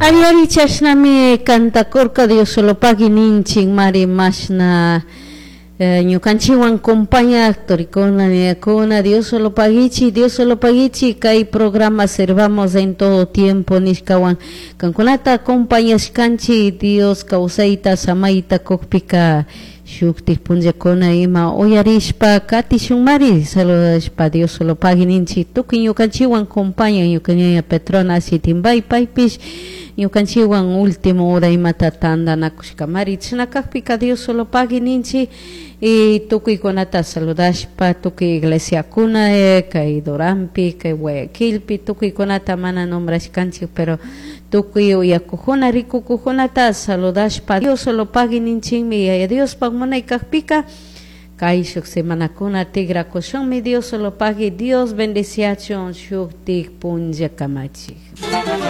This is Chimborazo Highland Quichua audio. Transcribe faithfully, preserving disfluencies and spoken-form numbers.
Ari ari chashnami cantakurka Diosolopagui ninchik mari mashna eh, ñukanchikwan compañak turikuna ñañakuna Diosolopaguichi Diosolopaguichi kay programa Sirvamos en todo tiempo nishkawan kankunata acompañashkanchik Dios kawsayta samayta kukpika shuktik punllakuna ima uyarishpa katishunmari saludashpa Diosolopagui ninchik tukuy ñukanchikwan compañan ñuka ñaña Petrona Asitimbay paypish ñukanchikwan último hora imata tantanakushkamari chashna kakpika Diosolopagui ninchik y tukuykunata saludashpa tukuy iglesiakuna eh, kay Duranpi kay Guayaquilpi tukuykunata mana nombrashkanchik pero tukuy uyakukuna rikukukunata saludashpa Diosolopagui ninchikmi yaya Diospak munay kakpika kay shuk semanakuna tigrakushunmi Diosolopagui Dios bendiciachun shuktik punlla kamachik.